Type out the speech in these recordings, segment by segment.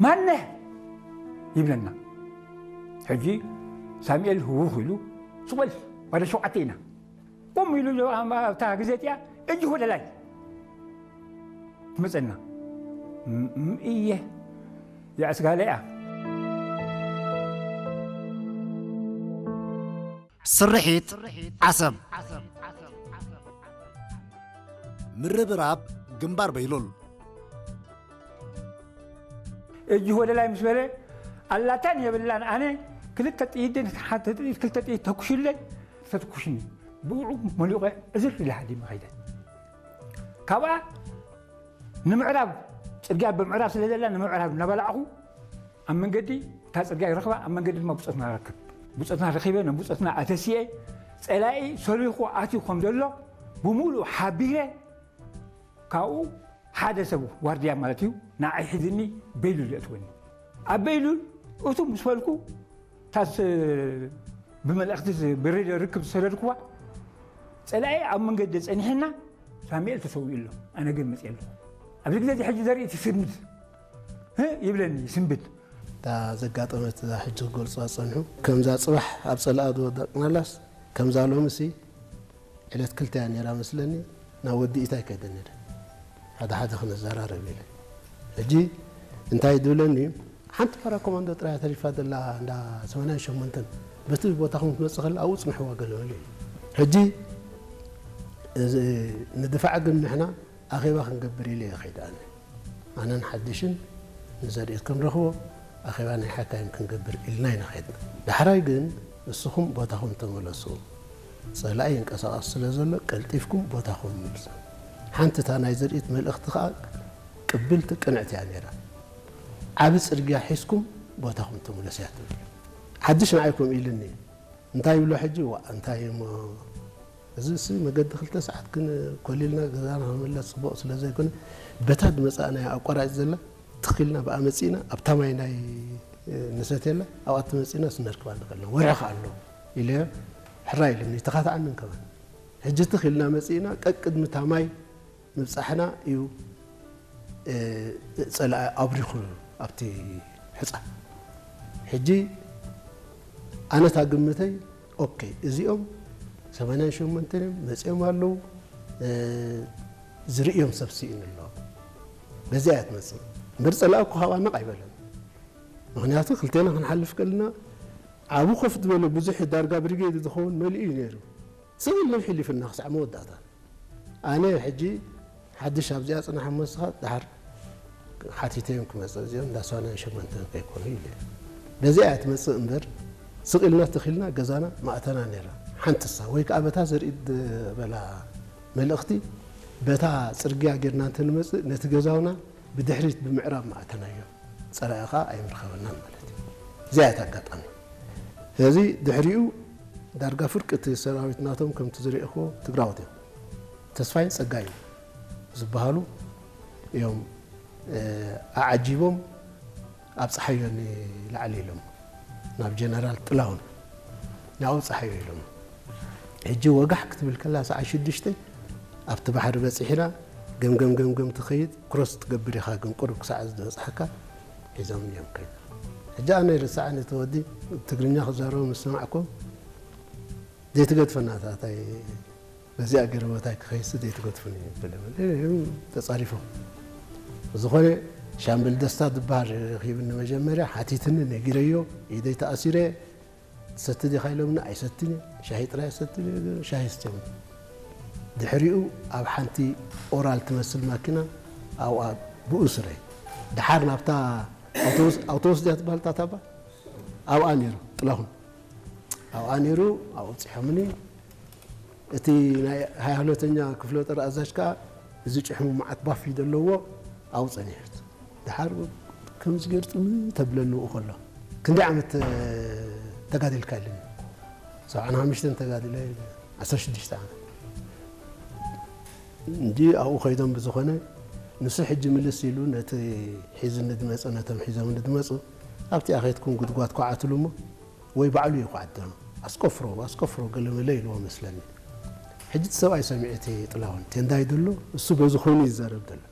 ማነህ ይብለና። ሕጂ ሳሙኤል ህውኽ ኢሉ፣ ስቕ በል፣ ወደ ሸውዓተ ኢና። ቁም ኢሉ፣ ኣብታ ግዜ እቲኣ እጅ ወደ ላይ ትመጸና። ም-፣ ም-፣ እየ፣ የዕስጋለያ። ስርሒት ዓሰብ። ምርብራብ ግንባር በይሉል። እጅ ወደ ላይ ምስ በለ፣ ኣላታን የብላን፣ ኣነ ክልተ ጥይትን ሓንቲ ጥይት ክልተ ጥይት ተኩሽለይ፣ ተተኩሽኒ። ብኡ መሊቐ እዝር ኢለ ሃዲመ ከይደ። ካብኣ ንምዕራብ፣ ጽርግያ ብምዕራብ ስለ ዘላ፣ ንምዕራብ እናበላዕኹ ኣብ መንገዲ እታ ጽርግያ ይረኽባ፣ ኣብ መንገዲ ድማ ብጾትና ረክብ። ብጾትና ረኺበ፣ ንብጾትና ኣተሲኤ፣ ጸላኢ ሰሊኹ ኣትዩ ከም ዘሎ ብምሉእ ሓቢረ፣ ካብኡ ሓደ ሰብ ዋርድያ ማለት እዩ፣ ንዓይ ሒዝኒ በይሉል የእትወኒ። ኣብ በይሉል እቱ ምስ በልኩ፣ ታስ ብመልእኽቲ ዝ-፣ ብሬድዮ ርክብ ዝሰደድኩዋ፣ ጸላኢ ኣብ መንገዲ ጸኒሕና፣ ሳሙኤል ተሰዊኡ ኣሎ፣ ኣነ ግን መጽእ ኣለኹ። ኣብዚ ግዜ እዚ ሕጂ ዘርኢ እቲ ስምድ፣ ህ፣ ይብለኒ፣ ስምብል። እታ ዘጋጠመት እዛ ሕጂ ክገልጹ ዝጸንሑ፣ ከምዛ ጽባሕ ኣብ ጸላኣ ዝወደቕናላስ፣ ከምዛ ሎምሲ ዕለት ክልተ እያ ነይራ መስለኒ፣ ናብ ወዲ ኢታይ ከይደ ነይረ። ሓደ ሓደ ክነዘራረብ ኢለ። ሕጂ እንታይ ድብለኒ፣ ሓንቲ ፓራ ኮማንዶ ጥራይ ተሪፋ ዘላ እንዳ ሰማንያን ሸሞንተን፣ በቲ ቦታኹም ክትመጽእ ከላ ኣብኡ ጽንሕዋ ገለ በለ እዩ። ሕጂ እዚ ንድፋዕ ግን ንሕና ኣኼባ ክንገብር ኢለ እየ ከይደ ኣነ። ኣነን ሓድሽን ንዘርእት ክንረኽቦ ኣኼባ ናይ ሓካይም ክንገብር ኢልና ኢና ከይድና። ዳሕራይ ግን እስኹም ቦታኹም ተመለሱ። ጸላኢ ይንቀሳቐስ ስለ ዘሎ ቀልጢፍኩም ቦታኹም ምልሱ። ሓንቲ እታ ናይ ዘርእት መልእኽቲ ከኣ ቅብልቲ ቅንዕቲ እያ ነይራ። ዓቢ ጽርግያ ሒዝኩም ቦታኹም ተመለሱ እያ ትብል። ሓድሽ ንዓይ ከምኡ ኢልኒ። እንታይ ይብሎ ሕጂ? ዋ፣ እንታይ እሞ እዚ ሲ መገዲ ክልተ ሰዓት ግን ኮሊልና ገዛና ክምለስ ጽቡቕ ስለ ዘይኮነ፣ በታ ዝመጻእናያ ኣቋራጭ ዘላ ትኺልና ብኣ መጺእና ኣብታ ማይ ናይ ንሰትየላ ኣብኣ ትመጺእና ስነርክባ ንኽእልና ወርሒ ከኣ ኣሎ ኢለ ሕራይ ኢሉኒ ተኻትዓንን ከማን። ሕጂ ትኺልና መጺእና ቀቅድሚ እታ ማይ ምብጻሕና እዩ፣ እ፣ ጸላኢ ኣብሪኹ ኣብቲ ሕጻ። ሕጂ ኣነታ ግምተይ፣ ኦኬ፣ እዚኦም ሰማንያን ሸሞንተን እዮም፣ መጺኦም ኣለዉ፣ እ፣ ዝርእዮም ሰብ ስኢኑ ኣሎ። በዚኣ እያ ትመጽእ። እምበር ጸላኢ እኮ ካብኣ ነቕ ኣይበለን። ምኽንያቱ ክልቴና ክንሓልፍ ከለና ዓቡ ኮፍ ዝበለ ብዙሕ ዳርጋ ብሪጌድ ዝኸውን መሊኡ እዩ ነይሩ። ስቕ ኢልና ሕሊፍና ክሳዕ መወዳእታ። ኣነ ሕጂ ሓድሽ ኣብዚኣ ጽናሕ እሞ ንስኻ ደሓር ሓቲተዮም ክመጽእ እዚኦም እንዳ ሰማንያን ሸሞንተን ከይኮኑ ኢለ። በዚኣ እያ ትመጽእ እምበር ስቕ ኢልና ትኺልና ገዛና ማእተና ነይራ። ሓንትሳ ወይ ከኣ በታ ዘርኢ ዝበላ መልእኽቲ በታ ጽርግያ ጌርና እንተንመጽእ ነቲ ገዛውና ብድሕሪት ብምዕራብ ማእተናዮ ጸላኢ ኸኣ ኣይምርኸበናን ማለት እዩ። እዚኣ እያ ኣጋጣሚ። ስለዚ ድሕሪኡ ዳርጋ ፍርቂ እቲ ሰራዊት ናቶም ከምቲ ዝርእኹዎ ትግራዎት እዮም። ተስፋይን ጸጋይን ዝበሃሉ እዮም፣ እ፣ ኣዓጂቦም ኣብ ጸሓዮ ንላዕሊ ኢሎም ናብ ጀነራል ጥላሁን ናብኡ ጸሓዮ ኢሎም። ሕጂ ወጋሕ ክትብል ከላ ሰዓት ሽዱሽተ ኣብቲ ባሕሪ በጺሕና ገምገም ገምገም ትኸይድ ክሮስ ትገብር ኢኻ ግን ቁሩብ ክሳዕ ዝበጽሓካ ሒዞም እዮም ከይዱ። ሕጂ ኣነ ይርስዓኒ እቲ ወዲ ትግርኛ ክዛረቡ ምስ ሰማዕኩ ዘይትገድፈና ታታይ በዚኣ ገይረ ቦታይ ክኸይስ ዘይትገድፍኒ ይብል። ተጻሪፎም ዝኾነ ሻምበል ደስታ ዝበሃል ረኺብኒ መጀመርያ ሓቲትኒ ነጊረዮ ኢደይ ተኣሲረ ትሰቲ ዲኻ ኢሎምኒ ኣይሰትን እየ ሻሂ ጥራይ ሰቲ ሻሂ ስትዮምኒ። ድሕሪኡ ኣብ ሓንቲ ኦራል ትመስል ማኪና ኣብኣ ብኡ ስረይ ደሓር ናብታ ኣውቶቡስ ድያ ትበሃል ታታባ ኣብኣ ነይሩ ጥላሁን ኣብኣ ነይሩ ኣብኡ ኣብፂሖምኒ። እቲ ናይ ሃያ ሁለተኛ ክፍለ ጦር ኣዛዥ ከዓ እዚ ጭሕሙ መዓት ባፊ ዘለዎ ኣብኡ ፀኒሑት። ደሓር ከምዚ ገይሩ ጥም ተብለኒ ብኡ ከሎ ክንደይ ዓመት ተጋዲልካ ኢሉኒ። ሰብዓን ሓሙሽተን ተጋዲለ ኢለ ዓሰርተ ሽዱሽተ ዓመት እንጂ ኣብኡ ከይዶም ብዝኾነ ንሱ ሕጂ ምልስ ኢሉ ነቲ ሒዙ ንድመፁ ነቶም ሒዞም ንድመፁ ኣብቲ ኣኸይድኩም ጉድጓድ ኳዓትሉ እሞ ወይ ባዕሉ ይኹዓት ኣስቆፍሮ ኣስቆፍሮ ገለመለ ኢልዎ መስለኒ። ሕጂ እቲ ሰብኣይ ሰሚዑ እቲ ጥላሁን ቴንዳ እዩ ዘሎ እሱ በዚ ኮይኑ ይዛረብ ዘሎ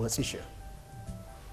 ወፂ ሽዑ